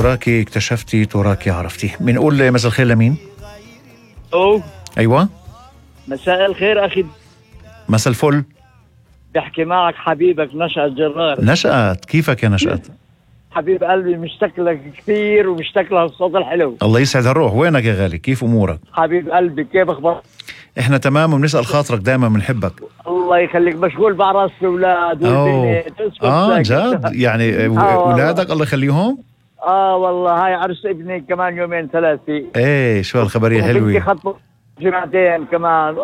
تراكي اكتشفتي تراكي عرفتي. بنقول مساء الخير لمين؟ أيوة مساء الخير أخي. مساء الفل. بحكي معك حبيبك نشأت جرار. نشأت، كيفك يا نشأت؟ حبيب قلبي مشتاق لك كثير ومشتاق للصوت الحلو. الله يسعد هالروح. وينك يا غالي؟ كيف أمورك؟ حبيب قلبي كيف أخبارك؟ إحنا تمام وبنسأل خاطرك دائما، بنحبك. الله يخليك. مشغول بعرس الأولاد والبنت. جد يعني أولادك الله يخليهم؟ والله هاي عرس ابني كمان يومين ثلاثة. ايه شو هالخبرية حلوة. خطبوا جمعتين كمان.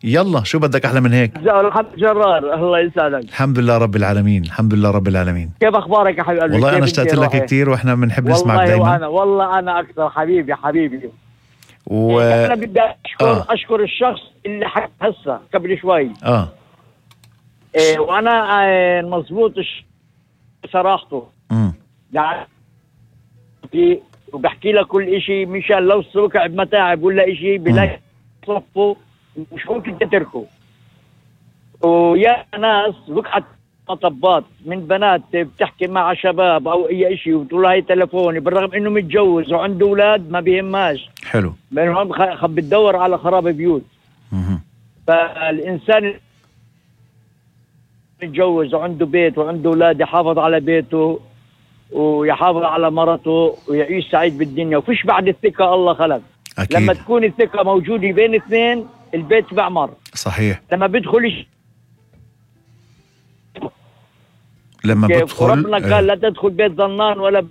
يلا شو بدك أحلى من هيك؟ الحمد جرار. الله يسعدك. الحمد لله رب العالمين. الحمد لله رب العالمين. كيف أخبارك يا حبيبي؟ والله أنا اشتقت لك كتير وإحنا بنحب نسمعك دايما. والله أنا أكثر حبيبي. أنا بدي أشكر الشخص اللي حكى هسه قبل شوي. وأنا مضبوط صراحته. يعني وبحكي لك كل إشي مشان لو السوق بمتاعب ولا إشي بلاقي صفه مش ممكن تتركه. ويا ناس وقعت مطبات من بنات بتحكي مع شباب أو أي إشي وتقول هاي تلفوني بالرغم إنه متجوز وعنده أولاد ما بيهماش. حلو. منهم بتدور على خراب بيوت. فالإنسان متجوز وعنده بيت وعنده أولاد يحافظ على بيته ويحافظ على مرته ويعيش سعيد بالدنيا. وفيش بعد الثقة الله خلق. أكيد. لما تكون الثقة موجودة بين اثنين البيت بعمر. صحيح. لما بدخل ربنا قال لا تدخل بيت ظنان ولا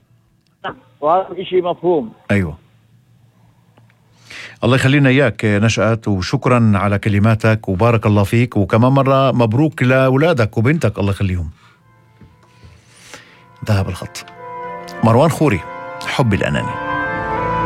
وهذا شيء مفهوم. أيوة. الله يخلينا إياك نشأت، وشكرا على كلماتك وبارك الله فيك، وكمان مرة مبروك لأولادك وبنتك الله يخليهم. ذهب الخط. مروان خوري، حب الأناني.